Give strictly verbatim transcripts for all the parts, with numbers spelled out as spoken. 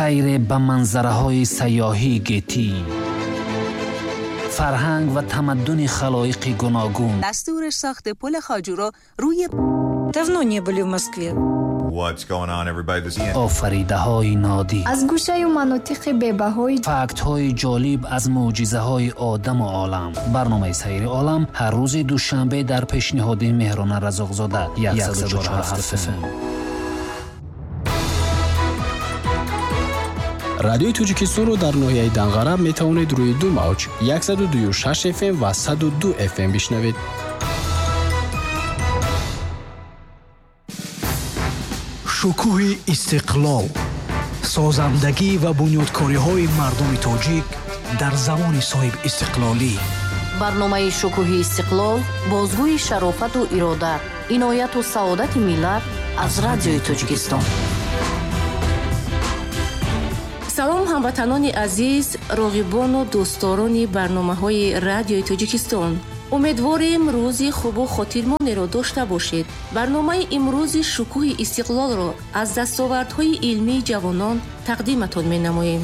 Сайре ба манзараҳои сайёҳии гетӣ, фарҳанг ва тамаддуни халоиқи гуногун. Дастури сохти пули Хоҷуро рӯи Давно не были в Москве. What's going on, everybody? This is офаридаҳои нодир, аз гӯшаю манотиқи бебаҳои, фактҳои ҷолиб аз мӯъҷизаҳои одаму олам. Барномаи Сайри олам ҳар рӯзи душанбе дар пешниҳоди Меҳрона Разоқзода, яксаду чору ҳафт Эф Эм. Радиои Тоҷикистонро дар ноҳияи Данғара метавонед рӯи ду мавҷ яксаду дую шаш эф эм ва саду ду эф эм бишнавед. Шукӯҳи истиқлол, созандагӣ ва бунёдкориҳои мардуми тоҷик дар замони соҳибистиқлолӣ. Барномаи Шукӯҳи истиқлол бозгӯи шарофату ирода, инояту саодати миллат аз Радиои Тоҷикистон. Салом, ҳамватанони азиз, роғибону дӯстдорони барномаҳои Радиои Тоҷикистон. Умедворем, рӯзи хубу хотирмонеро дошта бошед. Барномаи имрӯзи Шукӯҳи истиқлолро аз дастовардҳои илмии ҷавонон тақдиматон менамоем.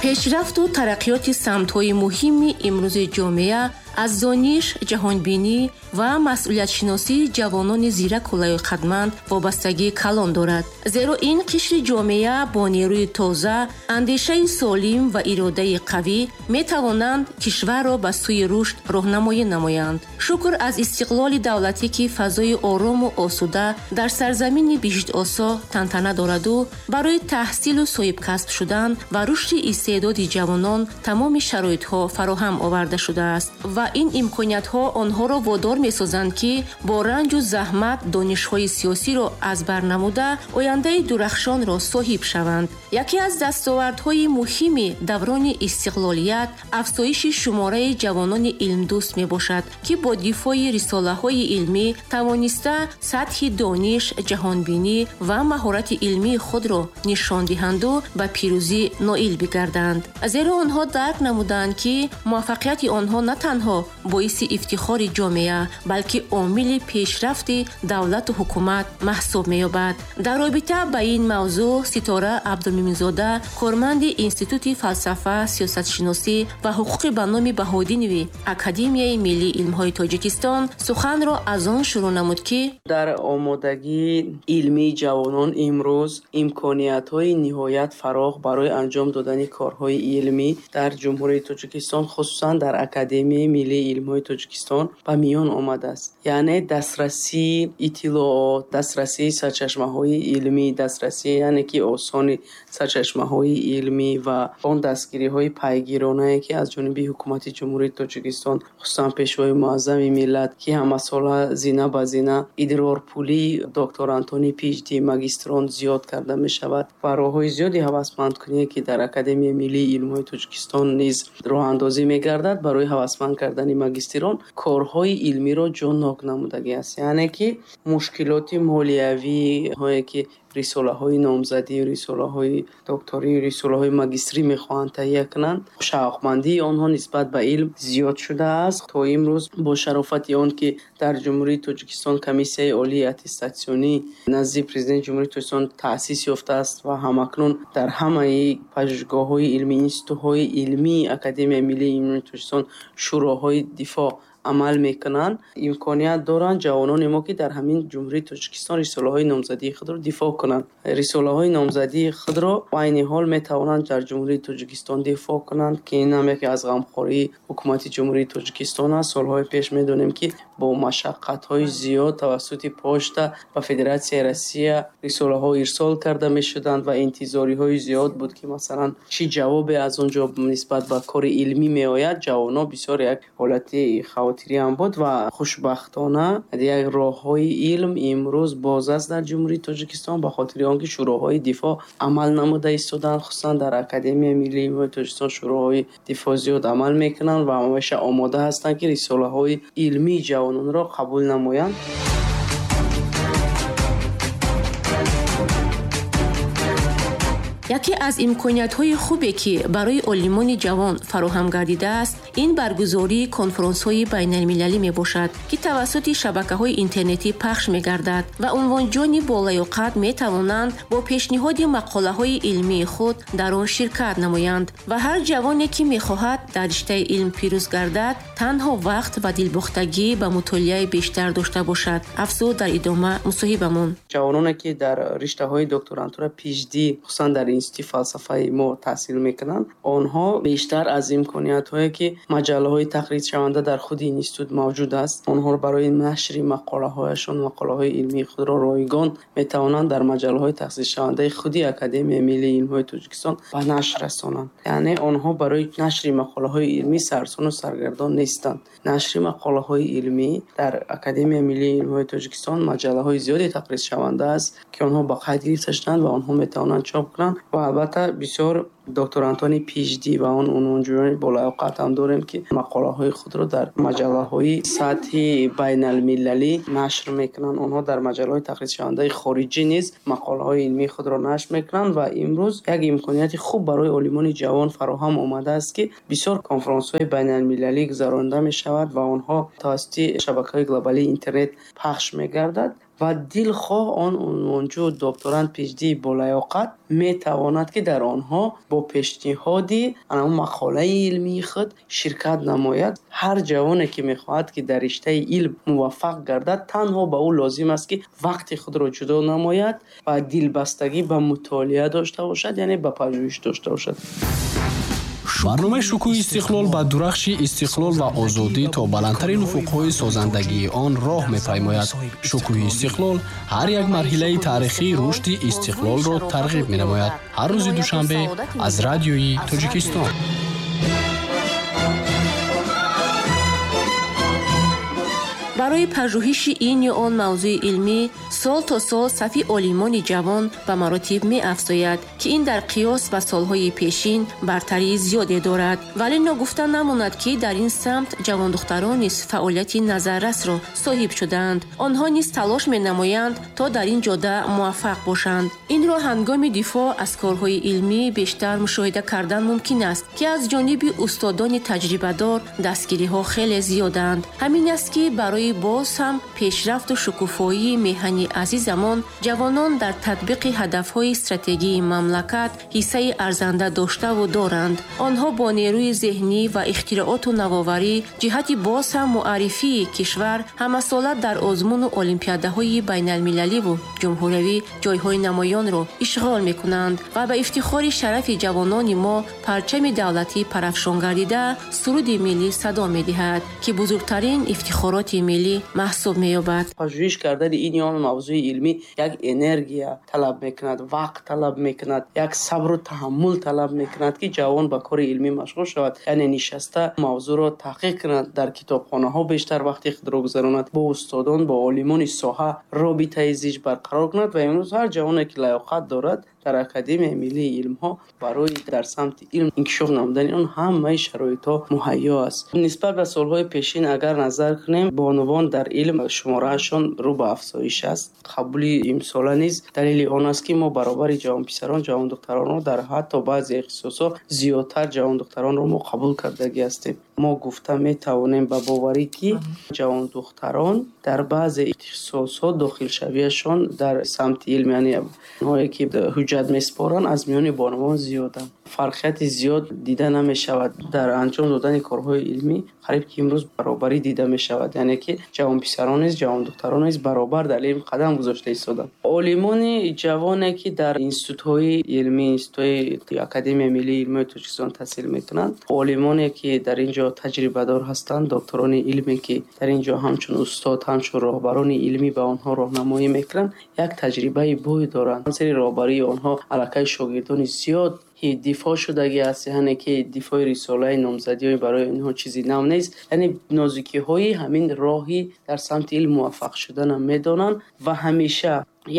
Пешрафту тараққиёти самтҳои муҳими имрӯзи ҷомеа аз дониш, ҷаҳонбинӣ ва масъулиятшиносии ҷавонони зираку лаёқатманд вобастагии калон дорад. Зеро ин қишри ҷомеа бо нерӯи тоза, андешаи солим ва иродаи қавӣ метавонанд кишварро ба сӯи рушд роҳнамоӣ намоянд. Шукр аз истиқлоли давлатӣ, ки фазои орому осуда дар сарзамини биҳиштосо тантана дораду барои таҳсилу соҳибкасб шудан ва рушди истеъдоди ҷавонон тамоми шароитҳо фароҳам оварда шудааст ва ин имкониятҳо онҳоро водор месозанд, ки бо ранҷу заҳмат донишҳои сиёсиро аз бар намуда ояндаи дурахшонро соҳиб шаванд. Яке аз дастовардҳои муҳими даврони истиқлолият афзоиши шумораи ҷавонони илмдӯст мебошад, ки бо дифои рисолаҳои илмӣ тавониста сатҳи дониш, ҷаҳонбинӣ ва маҳорати илмии худро нишон диҳанду ба пирӯзӣ ноил бигарданд. Зеро онҳо дарк намуданд, ки муваффақияти онҳо на танҳо боиси ифтихори ҷомеа, балки омили пешрафти давлату ҳукумат маҳсуб меёбад. Дар робита ба ин мавзӯъ Ситора Абдумуминзода, корманди Институти фалсафа, сиёсатшиносӣ ва ҳуқуқи ба номи Баҳодинови Академияи миллии илмҳои Тоҷикистон суханро аз он шурӯъ намуд, ки дар омодагии илмии ҷавонон имрӯз имкониятҳои ниҳоят фарох барои анҷом додани корҳои илмӣ дар Ҷумҳурии Тоҷикистон, хусусан дар Академияи миллии илмҳои Тоҷикистон ба миён омадааст. Яъне дастрасии иттилоот, дастрасии сарчашмаҳои илмӣ, дастрасии яъне ки осони сарчашмаҳои илмӣ ва он дастгириҳои пайгиронае, ки аз ҷониби ҳукумати Ҷумҳурии Тоҷикистон, хусусан Пешвои муаззами миллат, ки ҳамасола зина ба зина идрорпулии докторантони пи эйч ди, магистрон зиёд карда мешавад ва роҳҳои зиёди ҳавасмандкуние, ки дар Академияи миллии илмҳои Тоҷикистон низ роҳандозӣ мегардад барои ҳавасманд кардани магистрон, корҳои илмиро ҷоннок намудагӣ аст. Яъне ки мушкилоти молиявиҳое, ки рисолаҳои номзадӣ, рисолаҳои докторӣ, рисолаҳои магистрӣ мехоҳанд таҳия кунанд, шавқмандии онҳо нисбат ба илм зиёд шудааст. То имрӯз бо шарофати он, ки дар Ҷумҳурии Тоҷикистон Комиссияи олии аттестатсионӣ назди Президенти Ҷумҳурии Тоҷикистон таъсис ёфтааст ва ҳамакнун дар ҳамаи пажӯҳишгоҳҳои илмӣ, институтҳои илмии Академияи миллии илмҳои Тоҷикистон шӯроҳои дифоъ амал мекунанд, имконият доранд ҷавонони мо, ки дар ҳамин Ҷумҳурии Тоҷикистон рисолаҳои номзадии худро дифоъ кунанд. Рисолаҳои номзадии худро айни ҳол метавонанд дар Ҷумҳурии Тоҷикистон дифоъ кунанд, ки ин ҳам яке аз ғамхории ҳукумати Ҷумҳурии Тоҷикистон аст. Солҳои пеш медонем, ки бо машаққатҳои зиёд тавассути почта ба Федератсияи Россия рисолаҳо ирсол карда мешуданд ва интизориҳои зиёд буд, ки масалан чӣ ҷавобе аз он ҷо нисбат ба кори илмӣ меояд. Ҷавонҳо бисёр як ҳолати хавотирӣ ҳам буд ва хушбахтона як роҳҳои илм имрӯз боз аст дар Ҷумҳурии Тоҷикистон, ба хотири он ки шӯроҳои дифоъ амал намуда истоданд. Хусусан дар Академияи миллии илмҳои Тоҷикистон шӯроҳои дифоъ зиёд амал мекунанд ва ҳамеша омода ҳастанд, ки рисолаҳои илмии ҷавононро қабул намоянд. Яке аз имкониятҳои хубе, ки барои олимони ҷавон фароҳам гардидааст, ин баргузории конфронсҳои байналмилалӣ мебошад, ки тавассути шабакаҳои интернетӣ пахш мегардад ва унвонҷони болаёқат метавонанд бо пешниҳоди мақолаҳои илмии худ дар он ширкат намоянд ва ҳар ҷавоне, ки мехоҳад дар риштаи илм пирӯз гардад, танҳо вақт ва дилбохтагӣ ба мутолиаи бештар дошта бошад. Афзуд дар идома мусоҳибамон. Ҷавононе, ки дар риштаҳои докторантура, P H D, хусусан дар институти фалсафаи мо таҳсил мекунанд, онҳо бештар аз имкониятҳое, ки маҷаллаҳои тақризшаванда дар худи институт мавҷуд аст, онҳоро барои нашри мақолаҳояшон, мақолаҳои илмии худро ройгон метавонанд дар маҷаллаҳои тақризшавандаи худи Академияи миллии илмҳои Тоҷикистон ба нашр расонанд. Яъне онҳо барои нашри мақолаҳои илмӣ сарсону саргардон нестанд. Нашри мақолаҳои илмӣ дар Академияи миллии илмҳои Тоҷикистон маҷаллаҳои зиёде тақризшаванда аст, ки онҳо ба қайд гирифта шуданд ва онҳо метавонанд чоп кунанд. Ва албатта бисёр докторантони P H D ва он унвонҷӯёни болаёқат ҳам дорем, ки мақолаҳои худро дар маҷаллаҳои сатҳи байналмилалӣ нашр мекунанд. Онҳо дар маҷаллаҳои тақризшавандаи хориҷӣ низ мақолаҳои илмии худро нашр мекунанд. Ва имрӯз як имконияти хуб барои олимони ҷавон фароҳам омадааст, ки бисёр конфронсҳои байналмилалӣ гузаронида мешавад ва онҳо тавассути шабакаҳои глобалии интернет пахш мегардад ва дилхоҳ он унвонҷӯ, докторант, P H D болаёқат метавонад, ки дар онҳо бо пешниҳоди анам мақолаи илмии худ ширкат намояд. Ҳар ҷавоне, ки мехоҳад, ки дар риштаи илм муваффақ гардад, танҳо ба ӯ лозим аст, ки вақти худро ҷудо намояд ва дилбастагӣ ба мутолиа дошта бошад, яъне ба пажӯҳиш дошта бошад. Барномаи «Шукӯҳи истиқлол» ба дурахши истиқлол ва озодӣ то баландтарин уфуқҳои созандагии он роҳ мепаймояд. «Шукӯҳи истиқлол» ҳар як марҳилаи таърихии рушди истиқлолро тарғиб менамояд. Ҳар рӯзи душанбе аз Радиои Тоҷикистон. Барои пажӯҳиши ин ё он мавзӯи илмӣ сол то сол сафи олимони ҷавон ба маротиб меафзояд, ки ин дар қиёс ба солҳои пешин бартарии зиёде дорад. Вале ногуфта намонад, ки дар ин самт ҷавондухтарон низ фаъолияти назаррасро соҳиб шудаанд. Онҳо низ талош менамоянд, то дар ин ҷода муваффақ бошанд. Инро ҳангоми дифоъ аз корҳои илмӣ бештар мушоҳида кардан мумкин аст, ки аз ҷониби устодони таҷрибадор дастгириҳо хеле зиёданд. Ҳамин аст, ки барои боз ҳам пешрафту шукуфоии меҳани азизамон ҷавонон дар татбиқи ҳадафҳои стратегии мамлакат ҳиссаи арзанда доштаву доранд. Онҳо бо нерӯи зеҳнӣ ва ихтирооту навоварӣ ҷиҳати боз ҳам муаррифии кишвар ҳамасола дар озмуну олимпиадаҳои байналмилаливу ҷумҳуриявӣ ҷойҳои намоёнро ишғол мекунанд ва ба ифтихори шарафи ҷавонони мо парчами давлатӣ парафшон гардида, суруди миллӣ садо медиҳад, ки бузургтарин ифтихороти миллӣ маҳсуб меёбад. Пажӯҳиш кардани ин ё он мавзӯи илмӣ як энергия талаб мекунад, вақт талаб мекунад, як сабру таҳаммул талаб мекунад, ки ҷавон ба кори илмӣ машғул шавад, яъне нишаста мавзӯъро таҳқиқ кунад, дар китобхонаҳо бештар вақти худро гузаронад, бо устодон, бо олимони соҳа робитаи зич барқарор кунад. Ва имрӯз ҳар ҷавоне, ки лаёқат дорад, дар Академияи миллии илмҳо барои дар самти илм инкишоф намудани он ҳамаи шароитҳо муҳайё аст. Нисбат ба солҳои пешин агар назар кунем, бонувон дар илм шумораашон рӯ ба афзоиш аст. Қабули имсола низ далели он аст, ки мо баробари ҷавонписарон ҷавондухтаронро, дар ҳатто баъзе ихтисосҳо зиёдтар ҷавондухтаронро мо қабул кардагӣ ҳастем. Мо гуфта метавонем ба боварӣ, ки ҷавондухтарон дар баъзе ихтисосҳо дохилшавиашон дар самти илм, яъне онҳое ки ҳуҷҷат месупоранд, аз миёни бонувон зиёданд. Фарқияти зиёд дида намешавад. Дар анҷом додани корҳои илмӣ қариб ки имрӯз баробарӣ дида мешавад, яъне ки ҷавонписарон низ, ҷавондухтарон низ баробар дар илм қадам гузошта истоданд. Олимони ҷавоне, ки дар институтҳои илмӣ, институтҳои Академияи миллии илмҳои Тоҷикистон таҳсил мекунанд, олимоне, ки дар ин ҷо таҷрибадор ҳастанд, докторони илме, ки дар ин ҷо ҳамчун устод, ҳамчун роҳбарони илмӣ ба онҳо роҳнамоӣ мекунанд, як таҷрибаи бой доранд. Зери роҳбарии онҳо аллакай шогирдони зиёд дифоъ шудагӣ аст, яъне ки дифои рисолаи номзадиҳои барои инҳо чизи нав нест, яъне нозукиҳои ҳамин роҳи дар самти илм муваффақ шуданам медонанд. Ва ҳамеша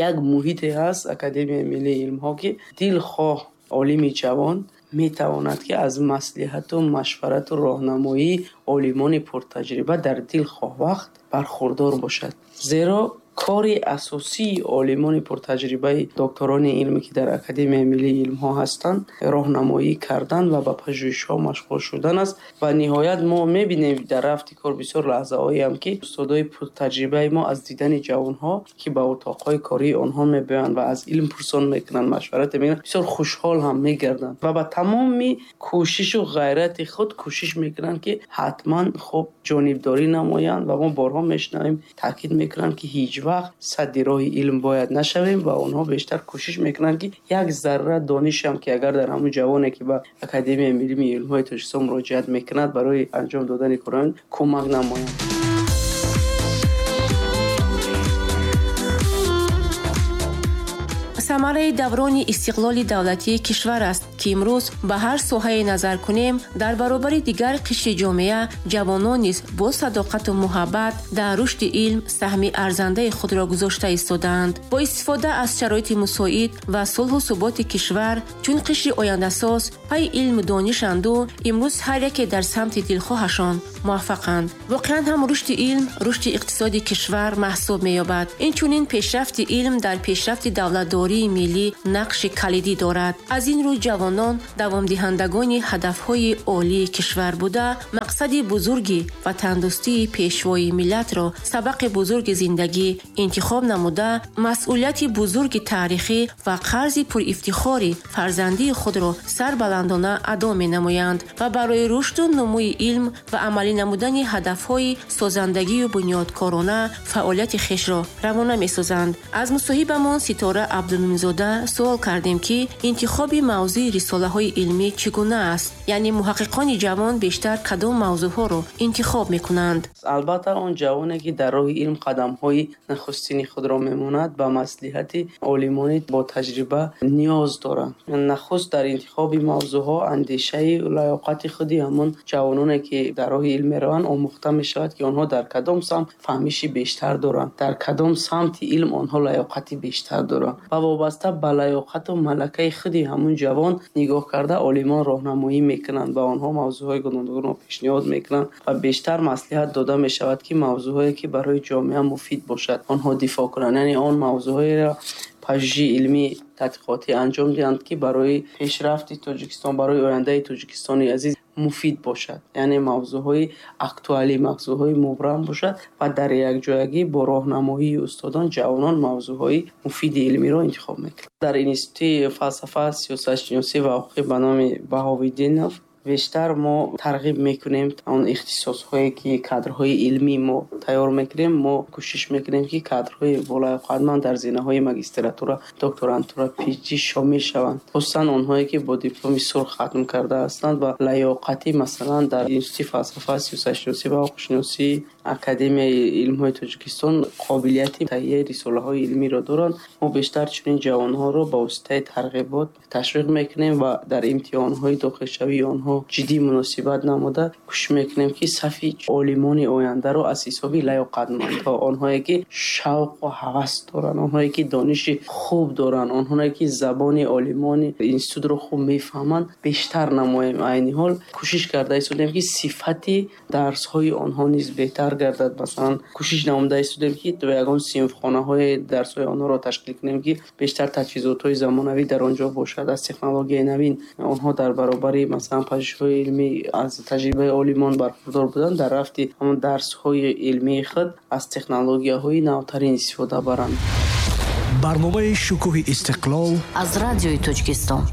як муҳите ҳаст Академияи миллии илмҳо, ки дилхоҳ олими ҷавон метавонад, ки аз маслиҳату машварату роҳнамоии олимони пуртаҷриба дар дилхоҳ вақт бархурдор бошад, зеро Кори асосии олимони пуртаҷрибаи докторони илме, ки дар Академияи миллии илмҳо ҳастанд, роҳнамоӣ кардан ва ба пажӯҳишҳо машғул шудан аст. Ва ниҳоят мо мебинем дар рафти кор бисёр лаҳзаҳоеам, ки устодои пуртаҷрибаи мо аз дидани ҷавонҳо, ки ба утоқҳои кории онҳо мебиёянд ва аз илм пурсон мекунанд, машварат мекунанд, бисёр хушҳол ҳам мегарданд ва ба тамоми кӯшишу ғайрати худ кӯшиш мекунанд, ки ҳатман хуб ҷонибдорӣ намоянд. Ва мо борҳо мешунавем, таъкид мекунанд, ки ҳеҷ вақт садди роҳи илм бояд нашавем ва онҳо бештар кӯшиш мекунанд, ки як зарра дониш ҳам, ки агар дар ҳамон ҷавоне, ки ба Академияи миллии илмҳои Тоҷикистон муроҷиат мекунад, барои анҷом додани корҳо кӯмак намоянд. Самараи даврони истиқлоли давлатии кишвар аст, ки имрӯз ба ҳар соҳае назар кунем, дар баробари дигар қишри ҷомеа ҷавонон низ бо садоқату муҳаббат дар рушди илм саҳми арзандаи худро гузошта истодаанд. Бо истифода аз шароити мусоид ва сулҳу суботи кишвар, чун қишри ояндасоз пайи илму донишанду имрӯз ҳар яке дар самти дилхоҳашон муваффақанд. Воқеан ҳам рушди илм рушди иқтисоди кишвар маҳсуб меёбад. Инчунин пешрафти илм дар пешрафти давлатдории миллӣ нақши калидӣ дорад. Аз ин рӯ ҷавонон давомдиҳандагони ҳадафҳои олии кишвар буда, мақсади бузурги ватандӯстии пешвои миллатро сабақи бузурги зиндагӣ интихоб намуда, масъулияти бузурги таърихӣ ва қарзи пурифтихори фарзандии худро сарбаландона адо менамоянд ва барои рушду нумӯи илм ва амалӣ намудани ҳадафҳои созандагию бунёдкорона фаъолияти хешро равона месозанд. Аз мусоҳибамон Ситора Абдумуминзода суол кардем, ки интихоби мавзӯи рисолаҳои илмӣ чӣ гуна аст, яъне муҳаққиқони ҷавон бештар кадом мавзӯъҳоро интихоб мекунанд. Албатта он ҷавоне, ки дар роҳи илм қадамҳои нахустини худро мемонад, ба маслиҳати олимони бо таҷриба ниёз доранд. Нахуст дар интихоби мавзӯъҳо андешаи лаёқати худи ҳамон ҷавононе, ки дар роҳи илм мераванд, омӯхта мешавад, ки онҳо дар кадом самт фаҳмиши бештар доранд, дар кадом самти илм онҳо лаёқати бештар доранд ва вобаста ба лаёқату малакаи худи ҳамон ҷавон нигоҳ карда олимон роҳнамоӣ мекунанд, ба онҳо мавзӯъҳои гуногунро пешниҳод мекунанд ва бештар маслиҳат дода мешавад, ки мавзӯъҳое, ки барои ҷомеа муфид бошад, онҳо дифоъ кунанд. Яъне он мавзӯъҳоеро пажӯҳиши илмӣ тадқиқотӣ анҷом диҳанд, ки барои пешрафти Тоҷикистон, барои ояндаи Тоҷикистони азиз муфид бошад. Яъне мавзӯъҳои актуалӣ, мавзӯъҳои мубрам бошад ва дар якҷоягӣ бо роҳнамоии устодон ҷавонон мавзӯъҳои муфиди илмиро интихоб мекунанд. Дар Институти фалсафа, сиёсатшиносӣ ва ҳуқуқӣ ба номи Баҳовиддинов бештар мо тарғиб мекунем он ихтисосҳое, ки кадрҳои илмӣ мо тайёр мекунем. Мо кӯшиш мекунем, ки кадрҳои болаёқатманд дар зинаҳои магистратура, докторантура, пи эйч ди шомил шаванд, хусусан онҳое, ки бо дипломи сурх хатм карда ҳастанд ва лаёқатӣ масалан дар Институти фалсафа, сиёсатшиносӣ ва ҳуқуқшиносии Академияи илмҳои Тоҷикистон қобилияти таҳияи рисолаҳои илмиро доранд. Мо бештар чунин ҷавонҳоро ба воситаи тарғибот ташвиқ мекунем ва дар имтиҳонҳои дохилшавии онҳо ҷиддӣ муносибат намуда кӯшиш мекунем, ки сафи олимони ояндаро аз ҳисоби лаёқатмандҳо, онҳое ки шавқу ҳавас доранд, онҳое ки дониши хуб доранд, онҳое ки забони олимони институтро хуб мефаҳманд, бештар намоем. Айни ҳол кӯшиш карда истодем, ки сифати дарсҳои онҳо низ беҳтар гардад. Масалан, кӯшиш намуда истодем, ки то ягон синфхонаҳои дарсҳои онҳоро ташкил кунем, ки бештар таҷҳизотҳои замонавӣ дар он ҷо бошад, аз технологияи навин онҳо дар баробари масалан пажӯҳишҳои илмӣ аз таҷрибаи олимон бархурдор буданд, дар рафти ҳамон дарсҳои илмии худ аз технологияҳои навтарин истифода баранд. Барномаи Шукӯҳи истиқлол аз Радиои Тоҷикистон.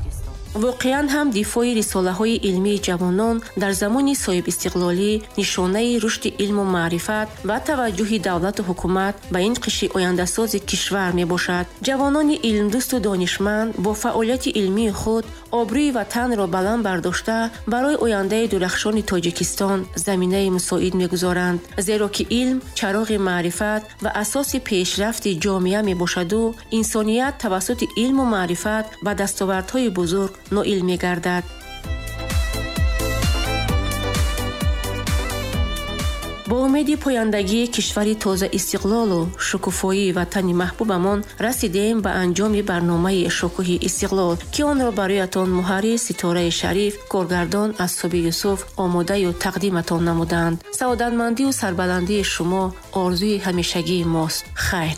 Воқеан ҳам дифои рисолаҳои илмии ҷавонон дар замони соҳибистиқлолӣ нишонаи рушди илму маърифат ва таваҷҷӯҳи давлату ҳукумат ба ин қишри ояндасози кишвар мебошад. Ҷавонони илмдӯсту донишманд бо фаъолияти илмии худ обрӯи ватанро баланд бардошта барои ояндаи дурахшони Тоҷикистон заминаи мусоид мегузоранд, зеро ки илм чароғи маърифат ва асоси пешрафти ҷомеа мебошаду инсоният тавассути илму маърифат ба дастовардҳои бузург ноил мегардад. Бо умеди пояндагии кишвари тоза истиқлолу шукуфоии ватани маҳбубамон расидем ба анҷоми барномаи Шукӯҳи истиқлол, ки онро бароятон муҳаррир Ситораи Шариф, коргардон Асоби Юсуф омодаю тақдиматон намуданд. Саодатмандию сарбаландии шумо орзуи ҳамешагии мост. Хайр.